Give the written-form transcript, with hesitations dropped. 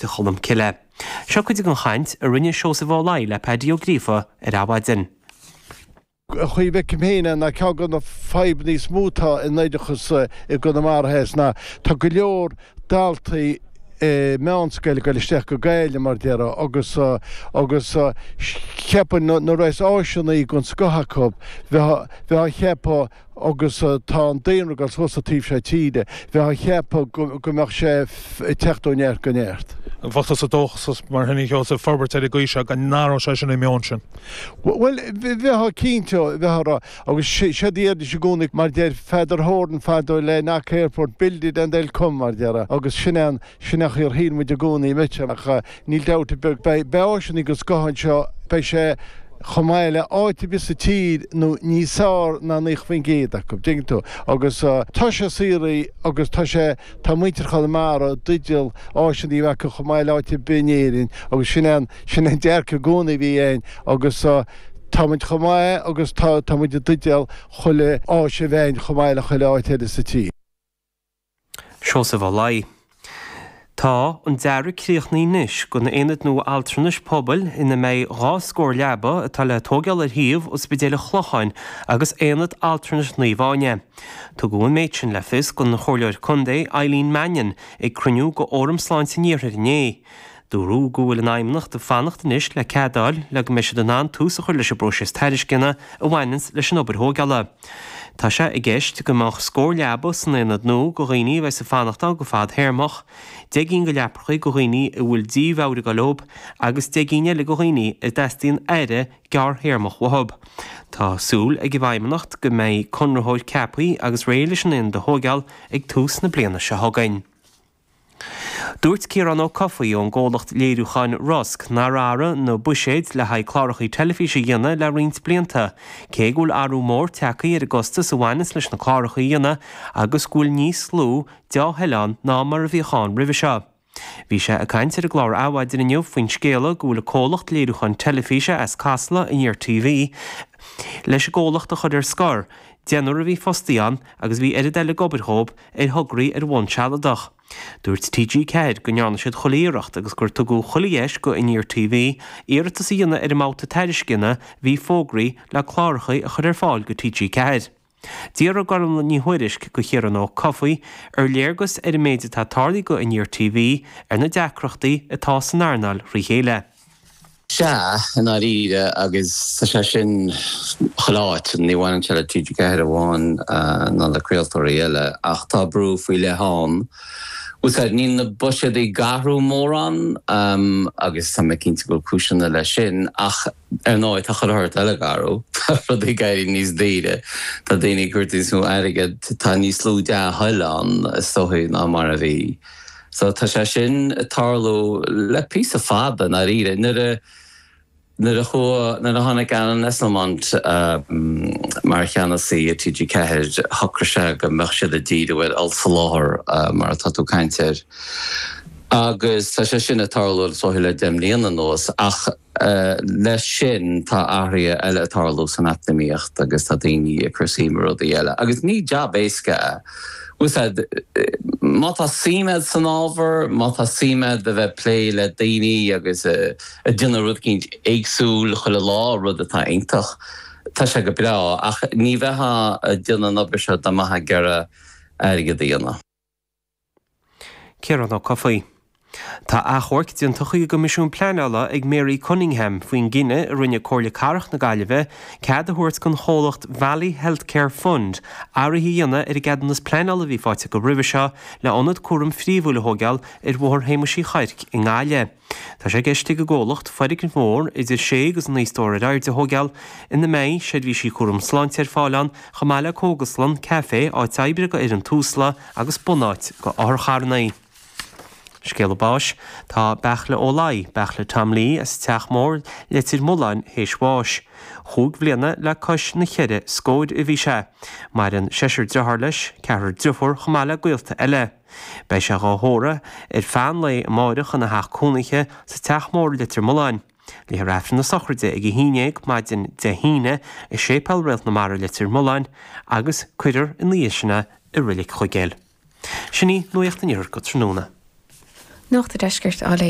Choláiste Cholmcille. Seo cuid den chaint a rinne Seosamh Ó Laoi le Paddy Ó Gríofa ar Adhmhaidin. An chaoi a bhfeicim féin é ná ceann de na fadhbanna is mó atá in oideachas i gConamara Theas ná tá go leor daltaí meánscoile ag dul isteach go Gaillimh mar déarfá agus agus cheapfainn nuair a bheas áiseanna den scoth acu bheifeá bheifeá ag ceapadh agus tá an daonra ag dul suas sa taobh seo tíre, bheifeá ag ceapadh go mbeadh sé ag teacht ó neart go neart. Bheadh tusa dóchasach mar sin a Sheosaimh, forbairt ar an gcaoi seo go n-athródh sé sin an meon sin? Bhuel, bheifeá cinnte, bheifeá ag rá, agus séard a deiridís i gcónaí, mar deir Peadar Horan fadó le Knock Airport, build it and they'll come, mar déarfá, agus sin é an, Sin an chaoi ar shíl muid i gcónaí muid, ach níl dabht ar bith, beidh áiseanna den scoth anseo, beidh sé chomh maith le áit ar bith sa tír nó níos fearr ná 90% acu, dtuigeann tú. Agus tá sé saothraithe agus tá sé, tá muintir Chonamara i dteideal áiseanna a bheith acu chomh maith le áit ar bith in Éirinn agus sin é an, sin é an dearcadh i gcónaí a bhí againn agus tá muid chomh maith agus tá, tá muid i dteideal chuile áis a bheith againn chomh maith le chuile áit eile sa tír. Seosamh Ó Laoi. Tá an dearadh críochnaithe anois don aonad nua altranais pobail ina mbeidh 2 scór leaba atá le tóigeáil ar shuíomh Ospidéal an Chlocháin agus Aonad Altranais Naomh Áine. Tugadh an méid sin le fios don Chomhairleoir Contae Eileen Mannion ag cruinniú de Fhóram Sláinte an Iarthair inné. Dúradh go bhfuil an Fheidhmeannacht ag fanacht anois le cead a fháil le go mbeidh siad in ann tús a chur leis an bpróiseas tairisceana a bhaineanns leis an obair thóigeála. Tá sé i gceist go mbeadh scór leaba san aonad nua go dhaoine a bheas ag fanacht ann go fadthéarmach, 10 gcinn de leapacha go dhaoine a bhfuil dímheabhair ag dul leob agus 10 gcinn eile go dhaoine a dteastaíonn aire gearrthéarmach uathub. Tá súil ag an bhFeidhmeannacht go mbeidh conraitheoir ceaptha agus réidh leis an aonad a thóigeáil ag tús na bliana seo chugainn. Dúirt Ciarán Ó Cofaigh ón gcomhlacht léiriúcháin Rosg nár athraigh na buiséid le haghaidh clárachaí teilifíse a dhéanamh le roinnt blianta, cé go bhfuil athrú mór tagtha ar an gcostas a bhaineanns leis na clárachaí a dhéanamh agus go bhfuil níos lú dea-thoil ann ná mar a bhíodh ann roimhe seo. Bhí sé ag caint ar an gclár Adhmhaidin inniu faoin scéala go bhfuil an comhlacht léiriúcháin teilifíse as Casla, Aniar TV, leis an gcomhlacht a chur ar scor, deichniúr a bhí fostaithe ann agus bhí oiread eile ag obair dhóibh ar thograí ar bhonn sealadach. Dúirt TG4 go ndearna siad chuile iarracht agus gur tugadh chuile dheis go Aniar TV iarratas a dhéanamh ar an mbabhta tairisceana a bhí fógraithe le cláracha a chur ar fáil go TG4. D'fhiafraigh Gormlaith Ní Thuairisg go Chiarán Ó Cofaigh ar léargas ar an méid atá tarlaithe go Aniar TV ar na deacrachtaí atá san earnáil thrí chéile. Sea, i ndáiríre, agus tá sé sin chuile áit, ní bhaineann sé le TG4 amháin ná le craoltóirí eile, ach tá brú faoi leith ann. Bhfuil 's a'd, níl na buiséid ag athrú mórán, agus tá mé cinnte go bhfuil cúiseanna leis sin, ach ar ndóigh tá chuile shórt eile ag athrú, tá rudaí ag éirí níos daoire, tá daoine ag tabhairt níos mó airgid, tá níos lú dea-thoil ann, is dóigh, ná mar a bhí. So tá sé sin ag tarlú le píosa fada, i ndáiríre. Nuair a, nuair a chuaigh, nuair a tháinig Alan Esslemont mar cheannasaí ar TG4, shocraigh sé go mbeadh siad ag díriú ar ollsoláthar, mar atá tú ag caint air. Agus tá sé sin ag tarlú is dóigh le 10 mbliana anuas. Ach leis sin tá athruithe eile ag tarlú san eacnamaíocht agus tá daoine ag cur suim i rudaí eile. Agus ní jab éasca é. Bhfuil 's a'd, má tá suim a'd san ábhar, má tá suim a'd a bheith ag plé le daoine agus ag déanamh rud eicínt éagsúil chuile lá, rud atá iontach, tá sé go breá. Ach ní bheifeá ag déanamh an obair seo dá mbeifeá ag iarraidh airgead a dhéanamh. Ciarán Ó Cofaigh. Tá achomharc déanta chuig an gCoimisiún Pleanála ag Mary Cunningham faoin gcinneadh a rinne Comhairle Cathrach na Gaillimhe cead a thabhairt don chomhlacht Valley Healthcare Fund athruithe a dhéanamh ar an gceadúnas pleanála a bhí faighte acu roimhe seo le ionad cúraim phríomhúil a thóigeáil ar Bhóthar Shéamuis Uí Chuirc i nGaillimh. Tá sé i gceist ag an gcomhlacht foirgneamh mór idir sé agus naoi stór ar airde a thóigeáil ina mbeidh seirbhísí cúram sláinte ar fáil ann chomh maith le cógaslann, caifé, áit oibre do fhoireann Tusla agus bunáit do otharcharranna. Scéala báis, Tá Beartla Ó Laoi, Beartla Tom Lee as an Teach Mór, Leitir Mealláin, théis bháis. Chúig bhliana le cois na cheithre scóir a bhí sé. Maireann seisear driotháir leis, ceathrar driofúr chomh maith le gaolta eile. Beidh sé dhá thórramh ar feadh an lae amáireach ina theach cónaithe sa Teach Mór Leitir Mealláin. Léifear Aifreann na sochraide ag 11 maidin Dé hAoine i Séipéal Réalt na Mara Leitir Mealláin agus cuirfear ina dhiaidh sin é i Reilig Chuigéil. Sin í Nuacht an Iarthair go tráthnóna. Nuacht an Deiscirt á léamh.